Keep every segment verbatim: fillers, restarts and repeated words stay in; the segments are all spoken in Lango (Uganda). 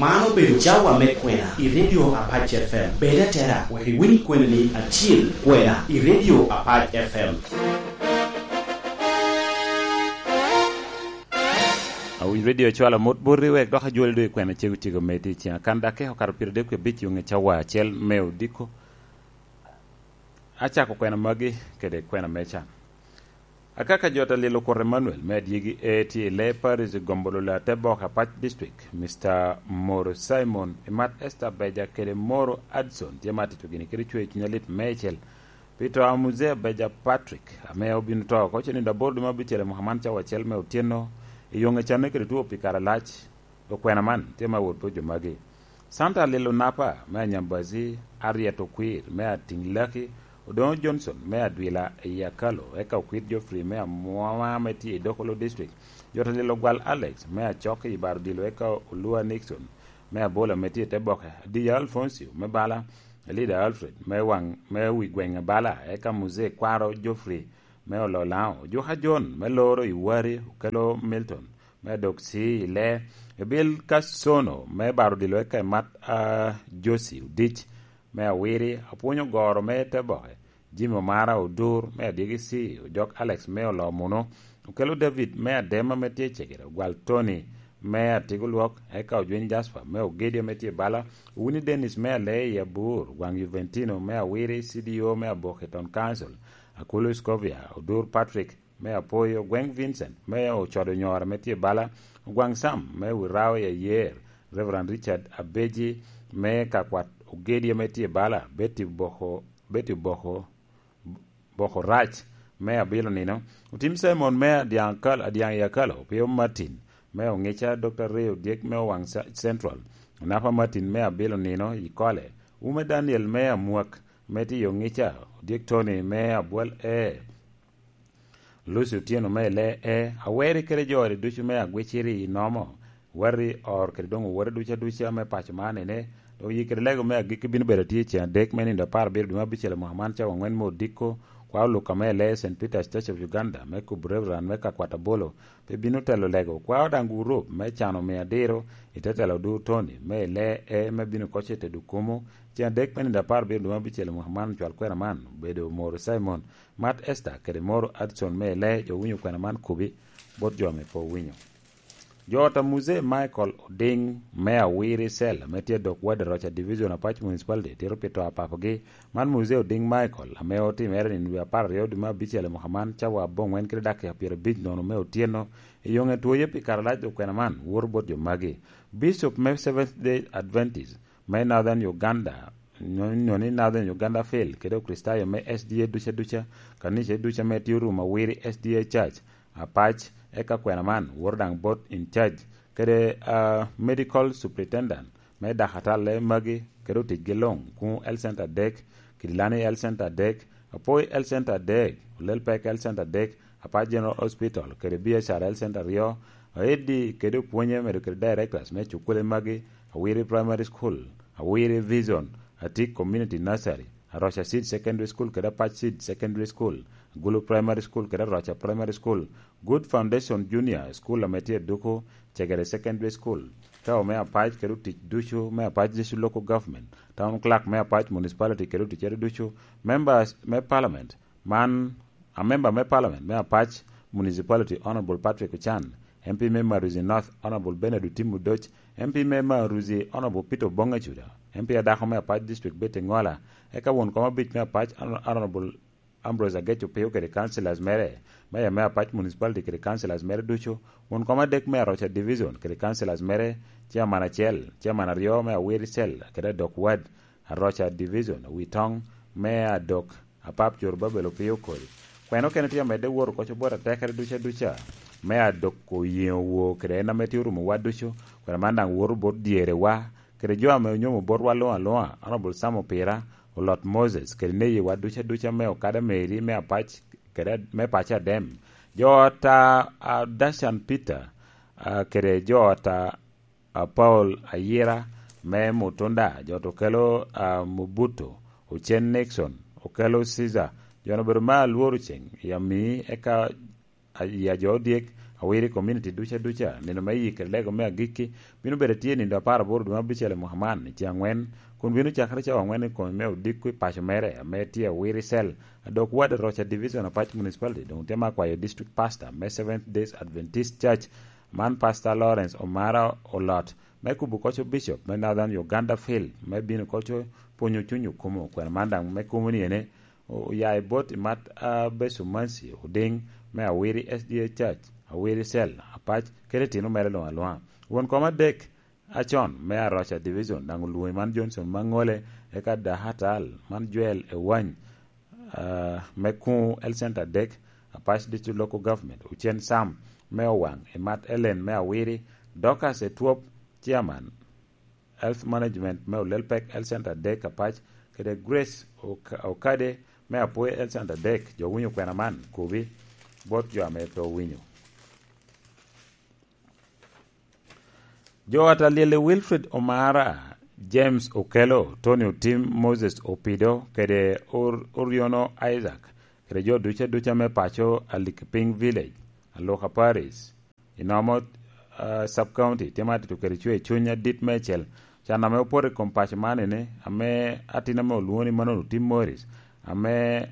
Man obedo cawa me kwena i Radio Apac F M. Bed atera wek iwiny kwena-ni acil, kwena i Radio Apac F M. Awinyo redio cwalo mot boti wek dok ajwoli doŋ i kwena cego cego me tye i ciŋa. Kan dakika okato pyeradek wie abic i ŋe cawa acel me odiko. Acako kwena magi kede kwena me can. Akaka jot a lilo Kut Emmanuel me adyegi e tye i lee Paris Gombolola te bok Apac District, Mister Moro Simon, i mat Esther Beja kede Moro Adson tye ma atito gini kede cwer cuny alit meicel pi to a Muzee Beja Patrick, ame obino to oko cenindo aboro dwe me abicel i mwaka man cawa acel me otyeno, i yoŋe canne kede two pi kare alac. Okwena man tye ma wot bot jo magi. Santa Lilo Napa me Anyambazi, Ariet Okwir me Atiŋ Laki, Odoŋo Johnson me Adwila i Akalo, eka Okwir Geoffrey me Amwama me tye i Dokolo District, Jota Lilo Gwal Alex me Acok i Baro Dilo, eka Olua Nixon me Abola me tye i te boke, Adiya Alfoncio me Bala, Elida Alfred me waŋ, me wi gweŋ Bala, eka Muzee Kwaro Geoffrey me Ololaŋo, Juka John me Loro i Wari, Okelo Milton me Adok C i Lee, Ebil Kasono me Baro Dilo, eka i mat a Josi Odic me Awiri, Apwonyo Goro me Teboke, Jimmy Omara Odur me Adyegi C, Ojok Alex me Olomuno, Okelo David me Adema me tye Cegere, Ogwal Tony me Atigo Lwok, eka Ojwiny Jasper me Ogedia me tye Bala, Winnie Dennis me Alee i Abur, Gwaŋ Juventino me Awiri, C D O me Aboke Town Council, Akulu Scovia, Odur Patrick me Apoyo, Gweŋ Vincent me Ocodo Nyora me tye Bala, Ogwaŋ Sam me Wirao i Ayer, Reverend Richard Abeji me Kakwat Ogedia me tye Bala, Betty Boko, Betty Boko, Boko Rac me Abilo Nino, Otim Simon me Adyaŋ Akal-, Adyaŋ i Akalo, Pio Martin me Oŋica, Doctor Ray Odyek me Owaŋ Sa-, Central, Onapa Martin me Abilo Nino i Kole, Ume Daniel me Amwak me tye i Oŋica, Odyek Tony me Abwal E, Lucy Otieno me Lee E, Aweri kede jo ode ducu me Agwiciri i Nomo, Wari Or kede doŋ owote ducu aduca me paco man ene, doŋ yik kede lego me agikki bino bedo atye i ceŋ adek me nino apar abiro dwe me abicel i mwaka man cawa aŋwen me odiko, kwa Oluka me Lee Saint Peter's Church of Uganda me kubo Reverend me Kakwat Abolo, pe bino telo lego, kwa Odaŋ Gurup me cano mia adiro i te telo Odur Tony me Lee E me bino koc i tedo kumo, ceŋ adek me nino apar abiro dwe me abicel i mwaka man, ocwal kwena man, obedo Moro Simon, Mat Esther kede Moro Adson me Lee, jo winyo kwena man kubi bot jo ame pe owinyo. Jo ot a Muzee Michael Oding me Awiri Cell ame tye dok wadi Roca Division Apac Municipality tito pi to a papagi. Man Muzee Oding Michael ame otimere nino dwe apar aryo dwe me abicel i mwaka man cawa aboŋwen kede dakika pyerabic nono me otyeno. I yoŋe twoye pi kare alac okwena man woto bot jo magi. Bishop me Seventh Day Adventist me Northern Uganda, nyo-, nyo ni Northern Uganda Field, kede Okricitayo me S D A duca duca, kanica duca me tye orumo Awiri S D A Church, Apac, eka kwena man woto daŋ bot in charge, kede, ah, medical superintendent me dakatalle magi, kede oticgi luŋ, kuŋ Health Center adek, Kidilani Health Center adek, Apoi Health Center adek, Olel Pek Health Center adek, Apac General Hospital, kede B H R Health Center aryo, Aedi kede opwonye medo kede directors me cukule magi, Awiri Primary School, Awiri Vision, Atik Community Nursery, Aroca Seed Secondary School kede Apac Seed Secondary School, Gulu Primary School kede Aroca Primary School, Good Foundation Junior School ame tye Duku, Cegere Secondary School, Kawo me Apac kede otic ducu me Apac District Local Government, Town Clerk me Apac Municipality kede oticcere ducu, Members me Parliament, man a member me Parliament me Apac Municipality, Honorable Patrick Ochan, M P me Maruzi North, Honorable Bernard Otim Odoc, M P me Maruzi, Honorable Peter Obong Acuda, M P adako me Apac District, Betty Ngola, eka won kom abic me Apac, Hon-, Honorable Ambrose Agec Opio kede councillors mere, Mayor me Apac Municipality kede councillors mere ducu, won kom adek me Aroca Division kede councillors mere, chairman acel, chairman aryo me Awiri Cell kede Adok Ward, Aroca Division, Witoŋ me Adok, Apap Zorobabel Opio Okori. Kwena okene tye amedde wot oko bot atekere duca duca me Adok Oyeŋo Woo kede en ame tye orumo wa ducu, kwena man daŋ woto bot dyere wa, kede jo ame onyomo botwa luŋ aluŋa, Honorable Sam Opira, Olot Moses, kede neyi wa duca duca me Okada Mary me Apac, kede me Paco Adem. Jo ot a, a Dashan Peter, a, kede jo ot a a Paul Ayira me Mutunda, jo ot Okelo, a, Mobuto, Ocen Nixon, Okelo Caesar, jo-nu obedo me alworo ceŋ i Amii, eka, a, i Ajo Odyek, Awiri community duca duca, nino me yik kede lego me agikki bino bedo tye nindo apar aboro dwe me abicel i mwaka man, i ceng angwen, kun bino cakere cawa angwen i kome me odiko i paco mere, ame tye Awiri Cell, a dok wad Roca Division, Apac Municipality, dong tye me akwayo District Pastor me Seventh Day Adventist Church, man Pastor Lawrence Omara Olot, me kubo koco Bishop me Northern Uganda Field, me bino koco pwonyo cuny okumo, kwena man daŋ me kumo ni ene, oya i bot i mat a Besumansi Oding me Awiri S D A Church, Awiri Cell, Apac, kede tino mere luŋ aluŋa. Won kom adek acon me Aroca Division daŋ olwoŋo man Johnson Maŋole, eka Dahatal man Joel Ewany, ah, me Kuŋ Health Center adek, Apac District Local Government, Ocen Sam me Owaŋ, i mat Ellen me Awiri, Dorcas Etwop, Chairman, Health Management me Olelpek Health Center adek Apac, kede Grace Oka-, Okade me Apoi Health Center adek. Jo winyo kwena man, kobi bot jo ame pe owinyo. Jo ata lyel i Wilfred Omara, James Okello, Tony Otim, Moses Opido, kede Or-, Oriono Isaac, kede jo duca duca me paco Alikpiny Village, Aluka Parish, i Nomo, ah, Sub-County, tye ma atito kede cwer cuny adit meicel. Can ame opoto i kom paco man ene, ame atin ame olwoŋo ni Manon Otim Morris, ame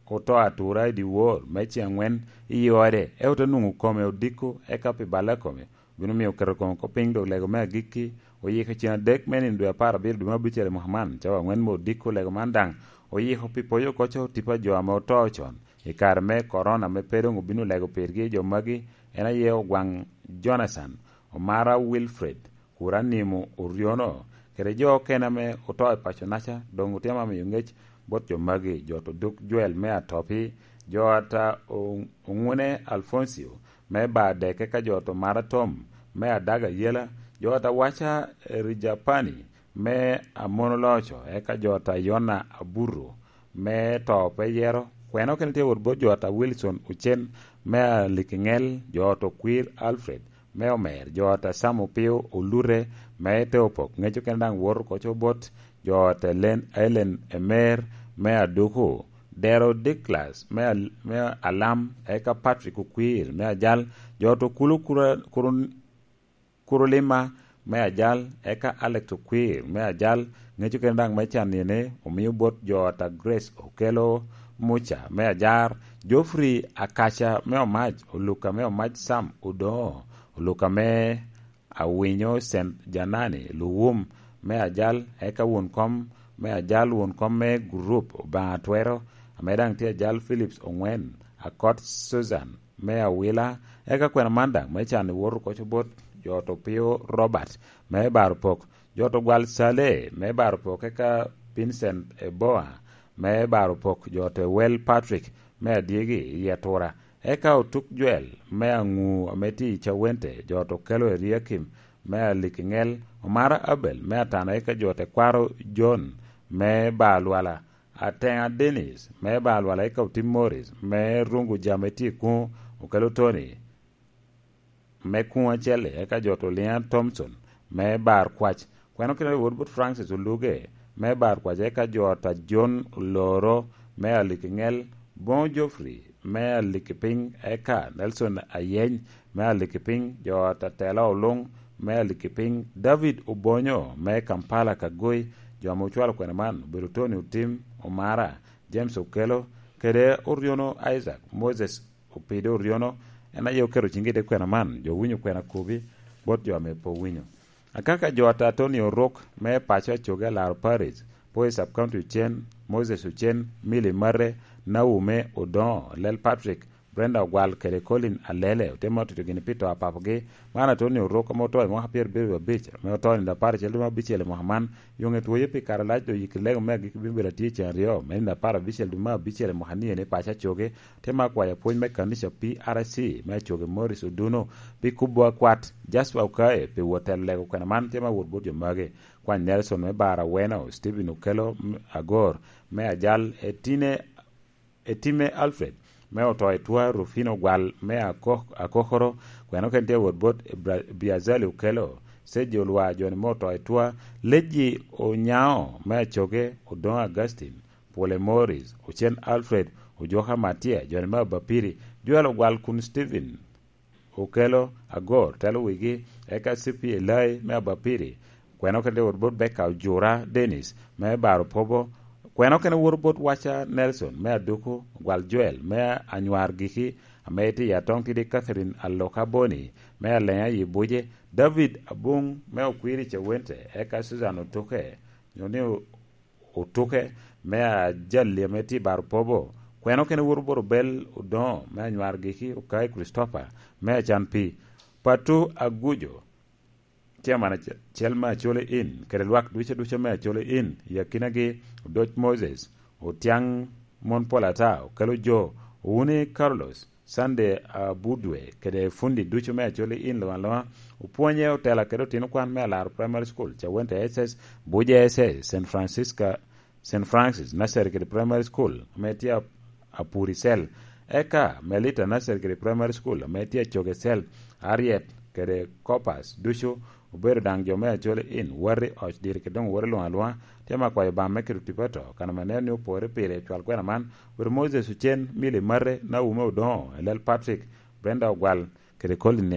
oto atura i dyewor me ceng angwen i ode, ento te nwoŋo kome odiko, eka pi balle a kome, obino miyo oketo kome oko piny, dok lego me agikki oyiko cen adek me nino dwe apar abiro dwe me abicel i mwaka man, cawa angwen me odiko. Lego man daŋ oyiko pi poyo koco tipo a jo ame oto con i kare me korona, ame pe doŋ obino lego pirgi. Jo magi en aye Ogwaŋ Jonathan, Omara Wilfred, Kuranimo Oriono, kede jo okene ame oto i paco-naca, doŋ otye ame amiyo ŋec bot jo magi, jo ata Oduk Joel me Atopi, jo ata O-, Oŋune Alfoncio me Badek, eka jo ata Omara Tom me Adaga Yela, jo ata Waca Rijapani me Amono Loco, eka jo ata Yona Aburo me To Pe Yero. Kwena okene tye wot bot jo ata Wilson Ocen me Alikiŋel, jo ata Okwir Alfred me Omer, jo ata Sam Opio Olute me Teopok, ŋec okene daŋ woto koco bot jo ata Len-, Ellen Emer me Aduku, Dero Douglas me Al-, me Alam, eka Patrick Okwir me Ajal, jo ata Okulu Kura-, Kurun-, Kurulima me Ajal, eka Alex Okwir me Ajal, ŋec okene daŋ me can ene omio bot jo ata Grace Okello Muca me Ajar, Geoffrey Akaca me Omac, Oluka me Omac Sam Odoŋo, Oluka me Awinyo Saint Janani Luwum me Ajal, eka won kom me Ajal, won kom me gurup Obaŋa Twero, ame daŋ tye Ajal Phillips Oŋwen, Akot Susan me Awila, eka kwena man daŋ me can i wot okoco bot jo ata Opio Robert me Baro Pok, jo ata Ogwal Saleh me Baro Pok, eka Vincent Eboa me Baro Pok, jo ata Ewel Patrick me Adyegi i Atura, eka Otuk Joel me Aŋu ame tye i Cawente, jo ata Okello Eriakim me Alikiŋel, Omara Abel me Atana, eka jo ata Kwaro John me Balwala, Ateŋa Dennis me Balwala, eka Otim Morris me Rungu Jam ame tye i Kuŋ, Okello Tony me Kuŋ Acel-li, eka jo ata Oliŋa Thompson me Bar Kwac. Kwena okene wot bot Francis Oluge me Bar Kwac, eka jo ata John Oloro me Alikiŋel, Boŋo Geoffrey me Alikipiny, eka Nelson Ayeny me Alikipiny, jo ata Tela Oluŋ me Alikipiny, David Obonyo me Kampala Kagoi. Jo ame ocwalo kwena man obedo Tony Otim, Omara, James Okello, kede Oriono Isaac, Moses Opido Oriono, en aye oketo ciŋge i te kwena man, jo winyo kwena kobi bot jo ame pe owinyo. Akaka jo ata Tony Oruk me paco Acoge Alaro Parish, Poi Sub County Ocen, Moses Ocen, Milly Mare, Naume Odoŋo, Lel Patrick, Brenda Ogwal kede Colin Alele, otemo tuto gini pi to a papogi. Man Atoni Oruk ame oto i mwaka pyerabiro wiye abic, ame oto i nino apar acel dwe me abicel i mwaka man. Yo ŋe twoye pi kare lac, dok yik lego me agikki bino bedo atye i ceng aryo, me nino apar abicel dwe me abicel i mwaka ni eni i paco Acoge. Te ma akwayo apwony me kanica P R C me Acoge Morris Oduno pi kubo akwat, Jasper Okaye pi wot telo lego kwena man, te ma wot bot jo magi. Kwany Nelson me Bar Aweno, Stephen Okello, m-, Agor me Ajal, Etine, Etime Alfred me oto i Twa, Rufino Gwal me Ako-, Akokoro, kwena okene tye wot bot Bra-, Biazali Okello, Seji Olwa, Joni me oto i Twa, Leji Onyao me Acoge, Odoŋo Augustine, Pwole Morris, Ocen Alfred, Ojoka Matia, Joni me Abapiri, Joel Ogwal kun Stephen Okelo Agor telo wigi, eka C P Elai me Abapiri, kweno kede wot bot Beka Ojura Dennis me Baro Pobo, kweno kene wot bot Waca Nelson me Aduku, Gwal Joel me Anywar Giki, ame tye i Atong Tidi Catherine Aloka Boni me Alenya i Buje, David Abung me Okwiri Cawente, eka Susan Otuke, nyo ni Otuke me Ajali ame tye i Baro Pobo, kweno kene wot bot Obel Odoŋo me Anywar Giki, Okai Christopher me Acan Pi, Patu Agujo, Chairman acel me Acholi Inn, kede lwak ducu ducu me Acholi Inn, i akinagi Odoc Moses, Otiaŋ Mon Pol Ata, Okelo Jo, Owuni Carlos, Sunday Abudwe, kede fundi ducu me Acholi Inn luŋ aluŋa, opwonye otela kede otino kwan me Alaro Primary School, Cawente S S, Buja S S, Saint Francisca, Saint Francis Nursery kede Primary School, ame tye a-, Apuri Cell, eka Melita Nursery kede Primary School, ame tye Acoge Cell, Ariet kede Corpus, ducu obedo daŋ jo me Acholi Inn, wati oc diri kede doŋ wati luŋ aluŋa, tye ma kwayo Obaŋa me keto tipo ato, kan ame neno ni opore pire i cwal kwena man, obedo Moses Ocen, Milly Mate, Naume Odoŋo, Elel Patrick, Brenda Ogwal, kede Colin